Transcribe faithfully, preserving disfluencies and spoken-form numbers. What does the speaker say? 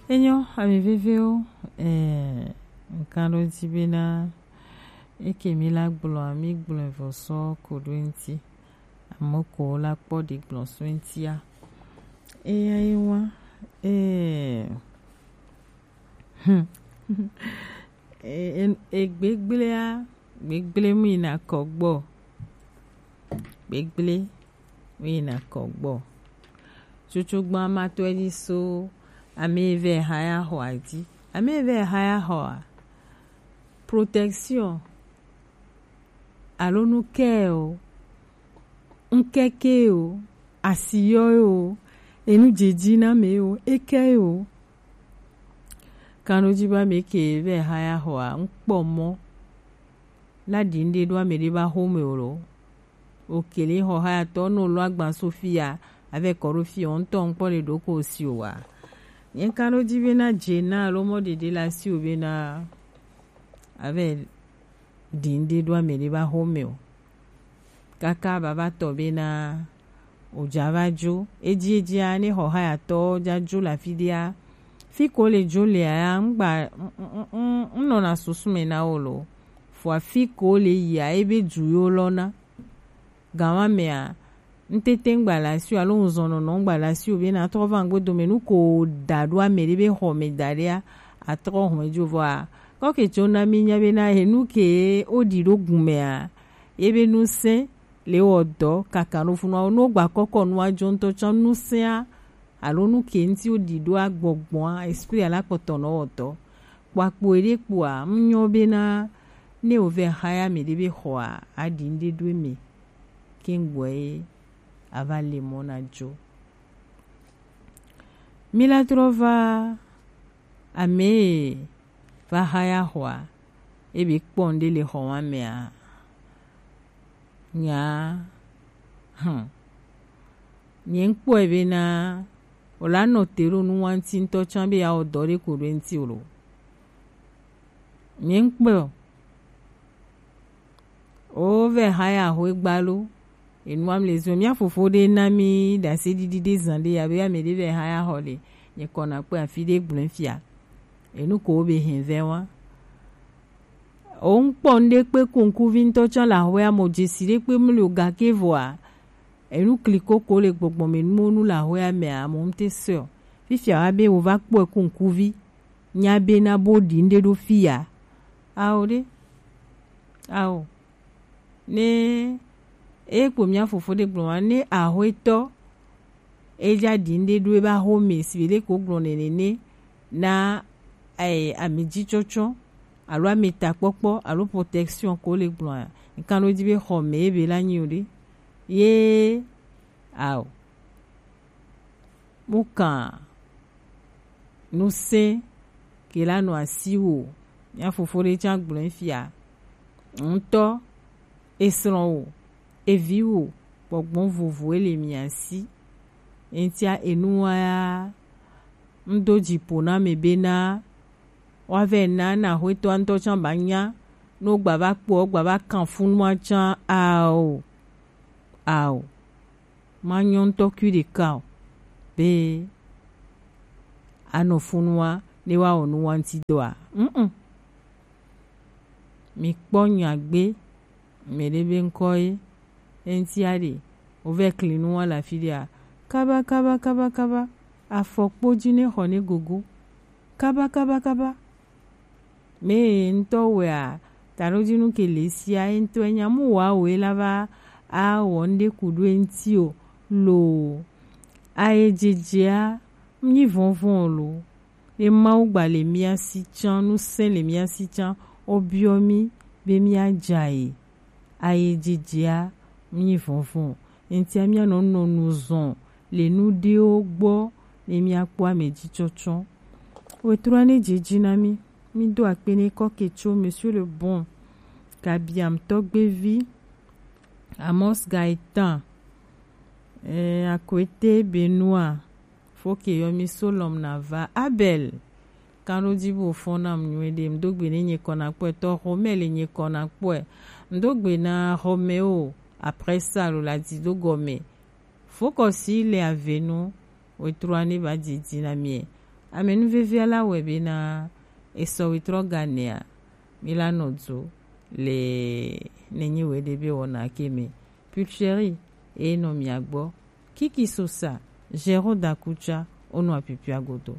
Enyo, ami vevewo, eh, nkan ɖo dzi bena eke mi la gblɔ, mi gblɔe vɔ sɔ ko ɖo eŋti. Ame ko la kpɔ ɖi gblɔ so eŋtia. Eya ye wa, eh, hmm. E, e, e gbegblea, gbegble mu yina kɔ gbɔ. Gbegble mu yina kɔ gbɔ. Tsutsu gbã ma tɔe ɖi so ame eve ha ya xɔ adi. Ame eve ha ya xɔa. Protection. Alo nu kɛ o. Ŋkeke o. Asiyɔ o. Enu dzedzi na me o. Eke o. Kanɖo dzi be ame ke vɛ ha ya xɔa, ŋkpɔ mɔ na ɖi ŋɖe ɖo ame ɖe ba xome o lo. Okele xɔ ha ya tɔ no lo agban so fia, avɛ kɔ ɖo fia, ŋtɔ ŋkpɔ le ɖo ko si o wa. Nye kanɖo dzi be na dze na alo mɔ ɖeɖe la si o be na avɛ ɖi ŋɖe ɖo ame ɖe ba xome o. Kaka baba tɔ bena o dza va dzo. Edzi edzia, ne xɔ hayatɔ dza dzo le afi ɖea, fi ko le dzo lea ya, ŋgba, ŋ-, ŋ-, ŋ-, ŋ-, ŋnɔna susu me na wo lo. Fua fi ko le yia, ebe du yo lɔna. Gawa mea, ŋtete ŋgba le asi o, alo ŋzɔnɔnɔ ŋgba le asi o, bena trɔ va ŋgbe dome, nu ko da ɖo ame ɖe be xɔ me da ɖea, atrɔ hɔn dzo vɔa. Kɔke tso na mi nya bena, he nu ke o ɖi ɖo gun mea, ye be nu se, le wɔ dɔ kaka no funu awo, no gba kɔkɔ nu adzo ŋtɔ tsã nu sea, alo nu ke ŋti wo ɖi ɖo agbɔgbɔa, esprit ala kpɔtɔ nɔ wɔ dɔ. Kpɔakpɔ eɖe kpɔa, ŋnyɔ bena, ne wo vɛ haya me ɖe be xɔa, aɖi ŋɖe ɖo eme, ke ŋgbɔ ye, ava le mɔ na dzo. Mi la trɔ va, ame va haya xɔa, ebe kpɔ ŋɖe le xɔ wa mea, nya, hmm. Nye ŋkpɔe bena, o la nɔ te ɖo nu wa ŋti ŋtɔ tsã be ya wɔ dɔ ɖe ko ɖo eŋti o lo. Nye ŋkpɔe o. O vɛ haya xɔ egba lo. Enu am le zo. Mia fofo ɖe na mi ɖase ɖiɖi ɖe zan ɖe ya be ame ɖe vɛ haya xɔ le. Nye kɔna kpɔe afi ɖe gblɔe fia. Enu ko be hɛn vɛ wa. O ŋkpɔ ŋɖe kpe kunkuvi ŋtɔ tsã le axɔea mo dzesi ɖe kpe mli o gake vɔa, enu kliko ko le gbɔgbɔ me nuwo nu le axɔea mea, mo ŋte sɔ. Fifia wa be wo va kpɔe kunkuvi, nya be na bo ɖi ŋɖe ɖo fia. Ao ɖe. Ao. Ne, e kpo mia fofo ɖe gblɔ wa, ne axɔetɔ, e dza ɖi ŋɖe ɖo ebe axome si be ɖe ko gblɔ nene ne, na, eh, ame dzi tsɔtsɔ, alo ame ta kpɔkpɔ, alo protection ko le gblɔa, nkan ɖo dzi be xɔ me ebe la nyi o ɖe. Ye, ao. Mu kan nu se ke la nɔ asi wo. Mia fofo ɖe tsã gblɔe fia. Ŋtɔ, esrɔ̃ wo, evi wo, gbɔgbɔ vovo ele mia si. Eŋtia enu wa ya, ŋdo dzi ƒo na me bena, wa vɛ na, na axɔetɔa ŋtɔ tsã ba nya, no gba va kpɔ, gba va kan funua tsã, ao, ao. Ma nyɔ ŋtɔ kui ɖeka o, be anɔ funua ne wa wɔ nu wa ŋti dɔa. Mm-mm. Mi kpɔ nya gbe, me ɖe be ŋkɔ ye, eŋti aɖe, wo vɛ kli nu wa le afi ɖea, kaba, kaba, kaba, kaba, afɔkpo dzi ne xɔ ne gogo, kaba, kaba, kaba. Me ŋtɔ wɛa, taɖodinu ke le sia, ye ŋtɔ enya mu wa wɛ la va a wɔ ŋɖe ku ɖo eŋti o, lo, aye dzedzea, nyi vɔnvɔn o lo. Ye Mawu gba le mia si tsã, nu sɛn le mia si tsã, o biɔ mi be mia dza ye. Aye dzedzea, nyi vɔnvɔn o. Eŋtia mia nɔ nɔ nu zɔn le nu ɖewo gbɔ ne mia kpɔ ame dzi tsɔtsɔ. Wetrua ne dzedzi na mi. Mi do akpe ne kɔ ke tso Monsieur le Bon, Gabiam Tɔgbevi, Amos Gaëtan, eh, Akwete Benoit, Foke yɔ mi Solom na va. Abel, kanɖo dzi bo fɔn nam nyuie ɖe. Mdo gbe ne nye kɔ na kpɔe. Tɔ xɔ me le nye kɔ na kpɔe. Mdo gbe na xɔ me o. Après ça, lo la di do gɔme. Fokɔsi le avenu, wetrua ne va dzidzi na mie. Ame nu vevia la wɔe bena esɔ wetrɔ ganea mi la nɔ dzo le nenyi we ɖe be wɔna ke me. Pulcheri e nɔ mia gbɔ. Kiki Sosa, Gero Dakucha, onɔ apipia godo.